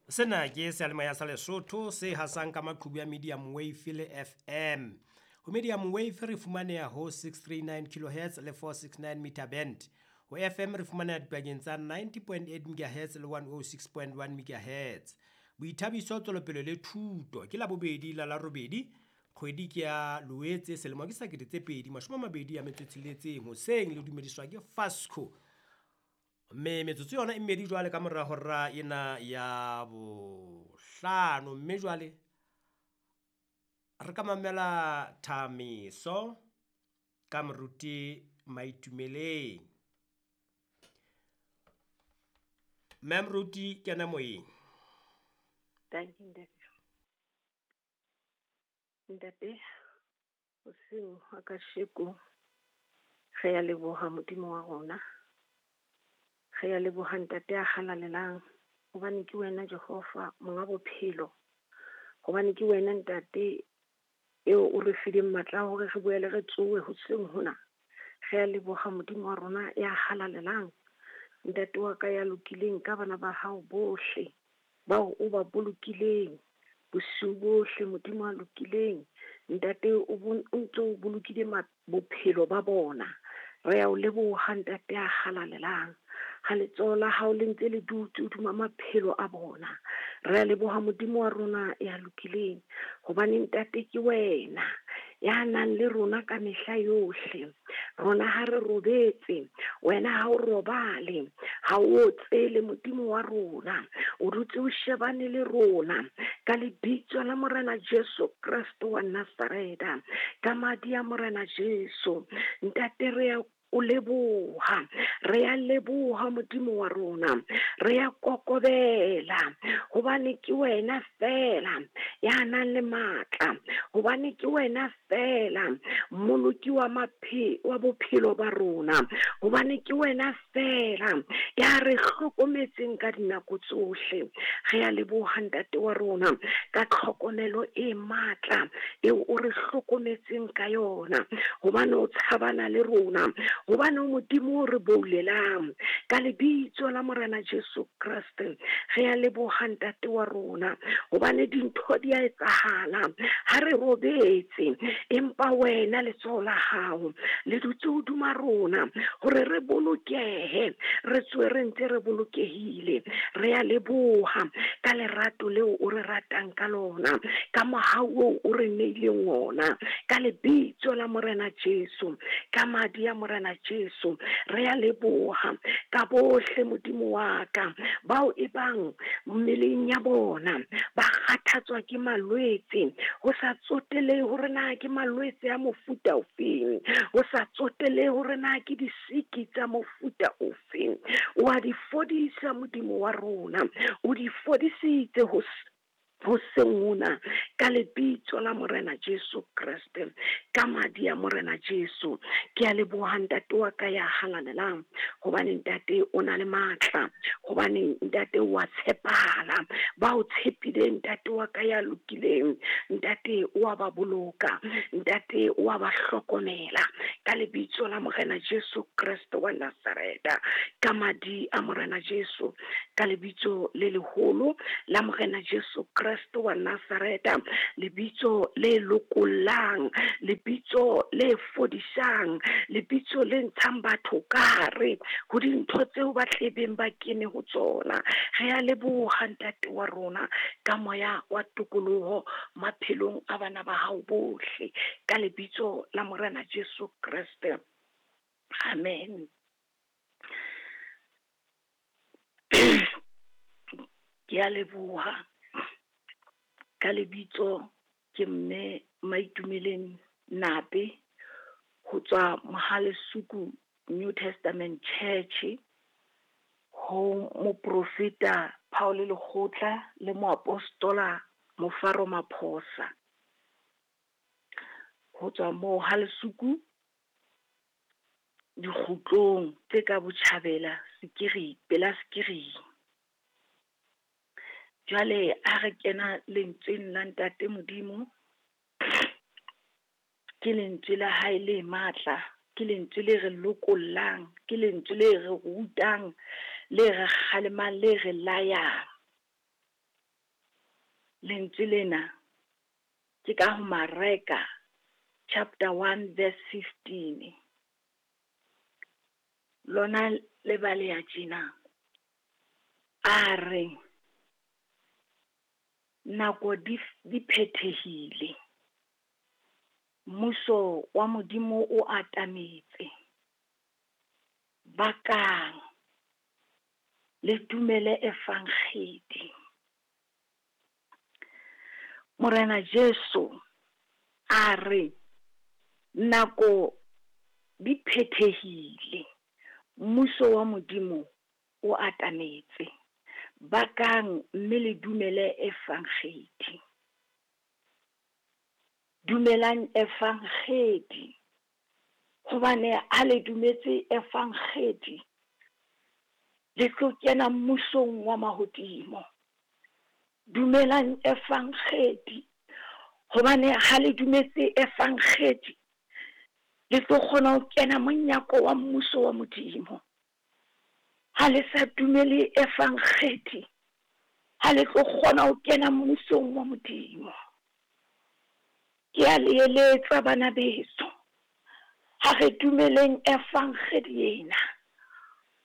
Sena ke seyalemoya sa Lesotho se hasang ka maqhubu ya medium wave le FM. Ho medium wave re fumaneha ho 639 kilohertz le 469 meter band. Ho FM re fumaneha dipakeng tsa 90.8 megahertz le 106.1 megahertz. Boithabiso, tswelopele le thuto ke Labobedi la Larobedi, kgwedi ke ya Loetse, selemo ke sa 2026 hoseng le dumediswa ke Fasco. Mme metsotso yona e mmedi jwale ka mora hora ena ya bohlano, mme jwale re ka mamela thamiso ka moruti Maitumeleng. Mme moruti kena moyeng. Thank you, ntate. Ntate, hoseng hwa kasheko re ya leboha Modimo wa rona. Re ya leboha ntate ya halalelang, hobane ke wena Jehova monga bophelo, hobane ke wena ntate eo o re fileng matla a hore re boele re tsohe hoseng hona. Re ya leboha Modimo wa rona ya halalelang, ntate wa ka ya lokileng ka bana ba hao bohle bao o ba bolokileng bosiu bohle. Modimo a lokileng, ntate o ntso o bolokile bophelo ba bona. Re ya o leboha ntate ya halalelang, ha letsoho la hao le ntse le dutse hodima maphelo a bona. Re a leboha Modimo wa rona ya lokileng, hobane ntate ke wena ya nang le rona ka mehla yohle. Rona ha re robetse, wena ha o robale, ha o otsele Modimo wa rona, o dutse o shebane le rona ka lebitso la Morena Jesu Kreste wa Nazareta, ka madi a Morena Jesu. Ntate re ya o leboha, re ya leboha Modimo wa rona, re ya kokobela, hobane ke wena fela ya nang le matla, hobane ke wena fela mmoloki wa wa bophelo ba rona, hobane ke wena fela ya re hlokometseng ka dinako tsohle. Re ya leboha ntate wa rona ka tlhokomelo e matla eo o re hlokometseng ka yona, hobane o tshabana le rona, hobane Modimo o re boulelang ka lebitso la Morena Jesu Kreste. Re ya leboha ntate wa rona, hobane dintho di a etsahala ha re robetse, empa wena letsoho la hao le dutse hodima rona hore re bolokehe, re tswe re ntse re bolokehile. Re ya leboha ka lerato leo o re ratang ka lona, ka mohau oo o re neileng ona, ka lebitso la Morena Jesu, ka madi a Morena Jesu. Re ya leboha ka bohle Modimo wa ka bao e bang mmeleng ya bona ba kgathatswa ke malwetse, ho sa tsotelehe hore na ke malwetse a mofuta ofeng, ho sa tsotelehe hore na ke disiki tsa mofuta ofeng. O a di fodisa Modimo wa rona, o di fodisitse hoseng hona ka lebitso la Morena Jesu Kreste, ka madi a Morena Jesu. Ke a leboha ntate wa ka ya halalelang, hobane ntate o na le matla, hobane ntate wa tshepahala. Ba o tshepileng ntate wa ka ya lokileng, ntate o a ba boloka, ntate o a ba hlokomela ka lebitso la Morena Jesu Kreste wa Nazareta, ka madi a Morena Jesu, ka lebitso le leholo la Morena Jesu Kreste wa Nazareta, lebitso le lokollang, lebitso le fodisang, lebitso le ntshang batho ka hare ho dintho tseo ba tlebeng ba kene ho tsona. Re a leboha ntate wa rona ka moya wa tokoloho maphelong a bana ba hao bohle, ka lebitso la Morena Jesu Kreste. Amen. Ke a leboha ka lebitso ke mme Maitumeleng Nape ho tswa Mohalesuku New Testament Church, ho moprofeta Paul Lekgotla le moapostola Mofaro Maphosa. Ho tswa Mohalesuku dikgutlong tse ka botjhabela Sekiri, pela Sekiring. Jwale ha re kena lentsweng la ntate Modimo, ke lentswe la hae le matla, ke lentswe le re lokollang, ke lentswe le re rutang, le re kgalemang, le re layang. Lentswe lena ke ka ho Mareka chapter 1 verse 15. Lona le baleha tjena. A re nako di di phethehile. Mmuso wa Modimo o atametse. Bakang, le dumele Evangedi. Morena Jesu a re nako di phethehile, mmuso wa Modimo o atametse. Bakang mme le dumele Evangedi. Dumelang Evangedi, hobane ha le dumetse Evangedi, le tlo kena mmusong wa mahodimo. Dumelang Evangedi, hobane ha le dumetse Evangedi, le tlo kgona ho kena monyako wa mmuso wa Modimo. Ha le sa dumele Evangedi, ha le tlo kgona ho kena mmusong wa Modimo. Ke a le eletsa bana beso, ha re dumeleng Evangedi ena,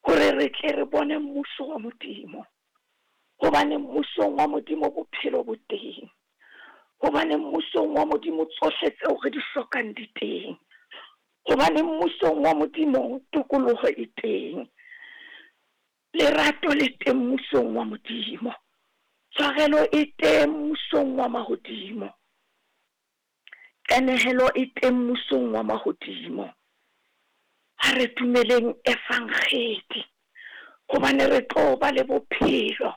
hore re tle re bone mmuso wa Modimo. Hobane mmusong wa Modimo bophelo bo teng. Hobane mmusong wa Modimo tsohle tseo re di hlokang di teng. Hobane mmusong wa Modimo tokoloho e teng. Lerato le teng mmusong wa Modimo. Tshwarelo e teng mmusong wa mahodimo. Qenehelo e teng mmusong wa mahodimo. Ha re dumeleng Evangedi, hobane re tlo ba le bophelo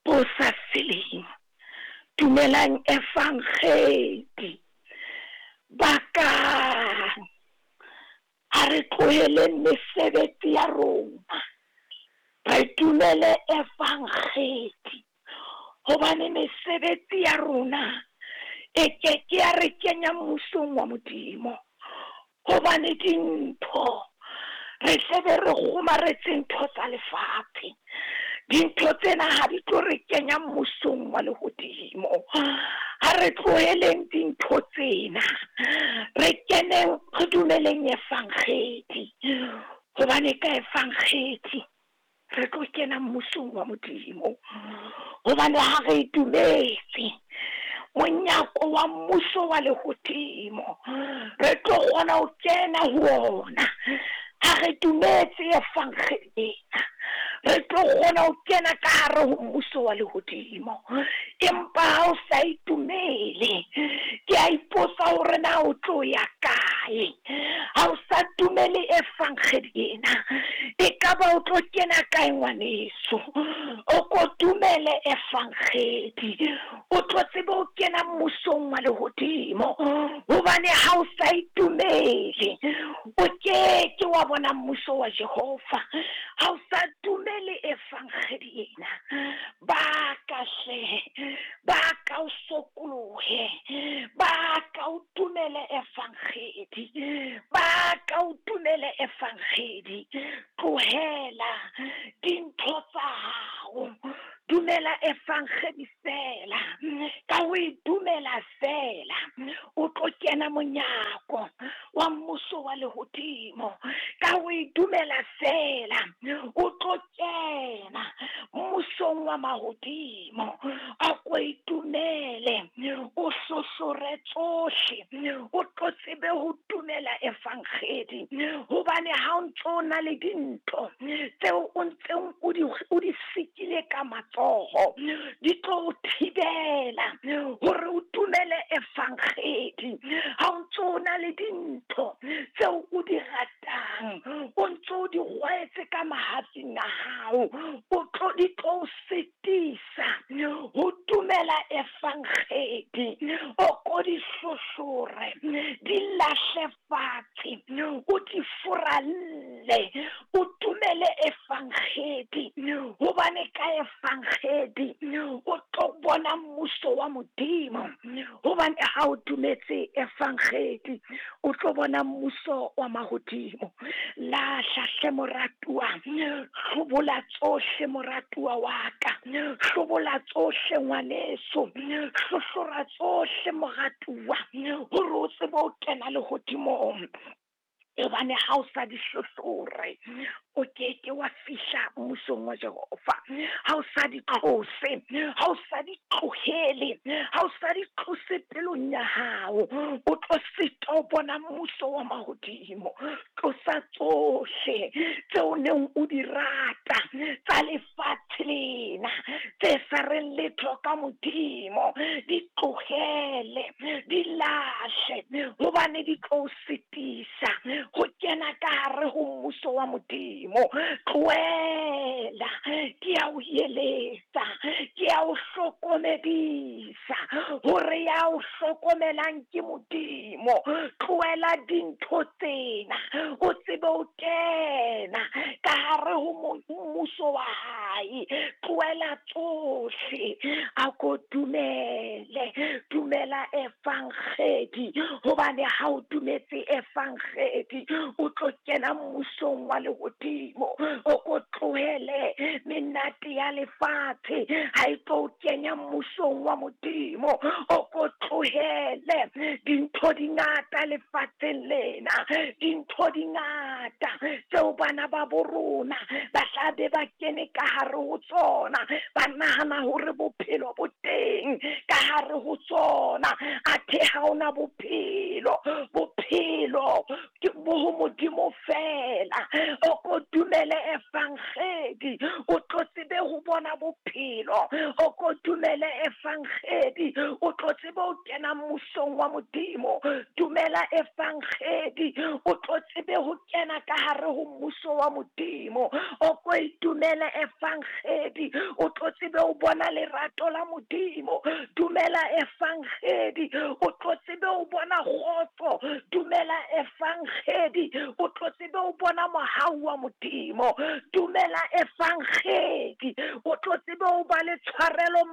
bo sa feleng. Dumelang Evangedi. Bakang, ha re tloheleng mesebetsi ya rona, re dumele Evangedi, hobane mesebetsi ya rona e ke ke ya re kenya mmusong wa Modimo. Hobane dintho re tlebe re kgomaretse ntho tsa lefatshe, dintho tsena ha di tlo re kenya mmusong wa lehodimo. Ha re tloheleng dintho tsena, re keneng re dumeleng Evangedi, hobane ka Evangedi re tlo kena mmusong wa Modimo. Hobane ha re e dumetse, monyako wa mmuso wa lehodimo re tlo kgona ho kena ho ona. Ha re dumetse Evangedi ena, re tlo kgona ho kena ka hare ho mmuso wa lehodimo. Empa ha o sa itumele, ke a ipotsa hore na o tlo ya kae. Ha o sa dumele Evangedi ena, ekaba o tlo kena kae ngwaneso? O ko dumele Evangedi, o tlo tsebe ho kena mmusong wa lehodimo. Hobane ha o sa itumele, o ke ke wa bona mmuso wa Jehova. Ha o sa dumele Evangedi ena, ba ka hle, ba ka o sokolohe, ba ka o dumele Evangedi, ba ka o dumele Evangedi. Tlohela dintho tsa hao, dumela Evangedi fela. Ka ho e dumela fela, o tlo kena monyako wa mmuso wa lehodimo. Ka ho e dumela fela, o tlo kena mmusong wa mahodimo. A ko e dumele, o hlohlore tsohle, o tlo tsebe ho dumela Evangedi. Hobane ha o ntso na le dintho tseo o ntseng o di sikile ka matsoho, di tlo o thibela hore o dumele Evangedi. Ha o ntso na le dintho tseo o di ratang, o ntso o di rwetse ka mahatsing a hao, o tlo di tlo sitisa ho dumela Evangedi. O ko di hlohlore, di lahle fatshe, o di furalle, o dumele Evangedi. Hobane ka Evangedi o tlo bona mmuso wa Modimo. Hobane ha o dumetse Evangedi, o tlo bona mmuso wa mahodimo. Lahla hle moratuwa, hlobola tsohle moratuwa. Moratuwa wa ka. Hlobola tsohle ngwaneso, hlohlora tsohle moratuwa, hore o tsebe ho kena lehodimong. Hobane ha o sa di hlohlore, o keke wa fihla mmusong wa Jehova. Ha o sa di tlose, ha o sa di tlohele, ha o sa di tlose pelong ya hao, o tlo sitwa ho bona mmuso wa mahodimo. Tlosa tsohle tseo neng o di rata tsa lefatshe lena, tse sa reng letho ka Modimo, di tlohele, di lahle, hobane di tlo o sitisa ho kena ka hare ho mmuso wa Modimo. Tlohela, ke a o eletsa, ke a o hlokomedisa hore ya o hlokomelang ke Modimo. Tlohela dintho tsena, o tsebe ho kena ka hare ho mmuso wa hae. Tlohela tsohle, a ko dumele, dumela evangedi, hobane ha o dumetse evangedi, o tlo kena mmusong wa lehodimo. O ko tlohele menate ya lefatshe, ha e tlo o kenya mmusong wa Modimo. O ko tlohele dintho di ngata lefatsheng lena, dintho di ngata tseo bana ba bo rona ba tla be ba kene ka hare ho tsona, ba nahana hore bophelo bo teng ka hare ho tsona, athe ha hona bophelo. Bophelo ke bo ho Modimo fela. O ko dumele evangedi, o tlo tsebe ho bona bophelo. O ko dumele evangedi, o tlo tsebe ho kena mmusong wa Modimo. Dumela evangedi, o tlo tsebe ho kena ka hare ho mmuso wa Modimo. O ko itumele evangedi, o tlo tsebe ho bona lerato la Modimo. Dumela evangedi, o tlo tsebe ho bona kgotso. Dumela evangedi, o tlo tsebe ho bona mohau wa Modimo. Dumela evangedi, o tlo tsebe ho ba le tshwarelo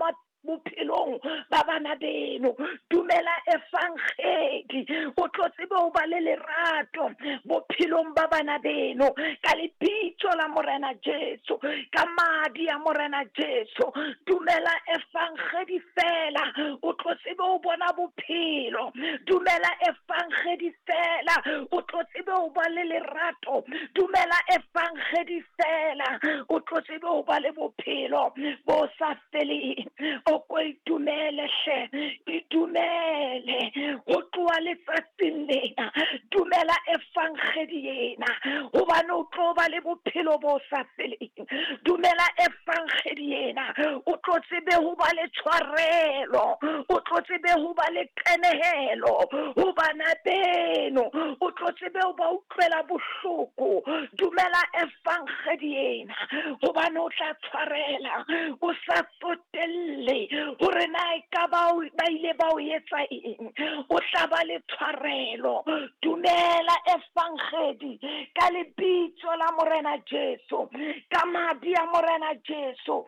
bophelong ba bana beno. Dumela evangedi, o tlo tsebe ho ba le lerato bophelong ba bana beno, ka lebitso la Morena Jesu, ka madi a Morena Jesu. Dumela evangedi fela, o tlo tsebe ho bona bophelo. Dumela evangedi fela, o tlo tsebe ho ba le lerato. Dumela evangedi fela, o tlo tsebe ho ba le bophelo bo sa feleng. O ko itumele hle, itumele ho tloha letsatsing lena. Dumela evangedi ena, hobane o tlo ba le bophelo bo sa feleng. Dumela evangedi ena, o tlo tsebe ho ba le tshwarelo, o tlo tsebe ho ba le qenehelo ho bana beno, o tlo tsebe ho ba utlwela bohloko. Dumela evangedi ena, hobane o tla tshwarela o sa tsotelle hore na e ka ba ile ba o etsa eng, o tla ba le tshwarelo. Dumela evangedi ka lebitso la Morena Jesu, ka madi a Morena Jesu.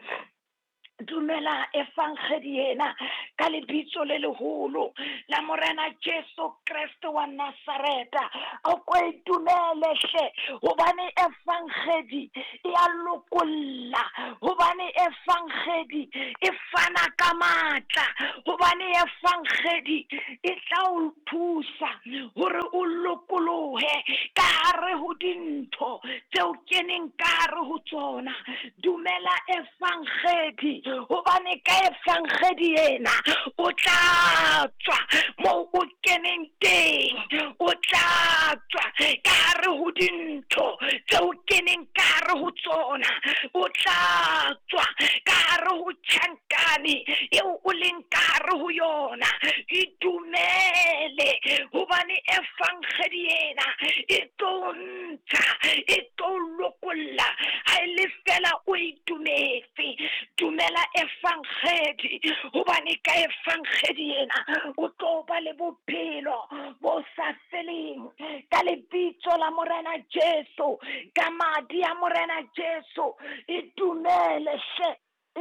Dumela evangedi ena ka lebitso le leholo la Morena Jesu Kreste wa Nazareta. O ko e dumele hle, hobane evangedi e a lokolla, hobane evangedi e fana ka matla, hobane evangedi e tla o thusa hore o lokolohe ka hare ho dintho tseo keneng ka hare ho tsona. Dumela evangedi, hobane ka evangedi ena o tla tswa moo o keneng teng, o tla tswa ka hare ho dintho tseo keneng ka hare ho tsona, o tla tswa ka hare ho tjhankane eo o leng ka hare ho yona. Itumele, hobane evangedi ena e tlo ntsha, e tlo lokolla ha e le fela o itumetse. Dumela evangedi, hobane ka evangedi ena o tlo ba le bophelo bo sa feleng, ka lebitso la Morena Jesu, ka madi a Morena Jesu. Itumele hle,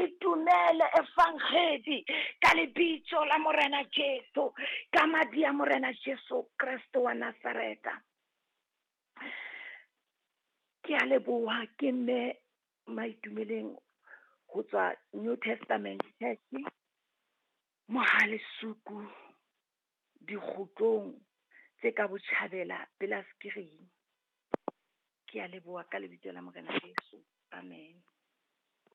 itumele evangedi ka lebitso la Morena Jesu, ka madi a Morena Jesu Kreste wa Nazareta. Ke a leboha, ke mme Maitumeleng Ho tswa New Testament Church, Mohale'shoek, dikgotlong tse ka botjhabela pela Skrying. Ke a leboha ka lebitso la Morena Jesu. Amen.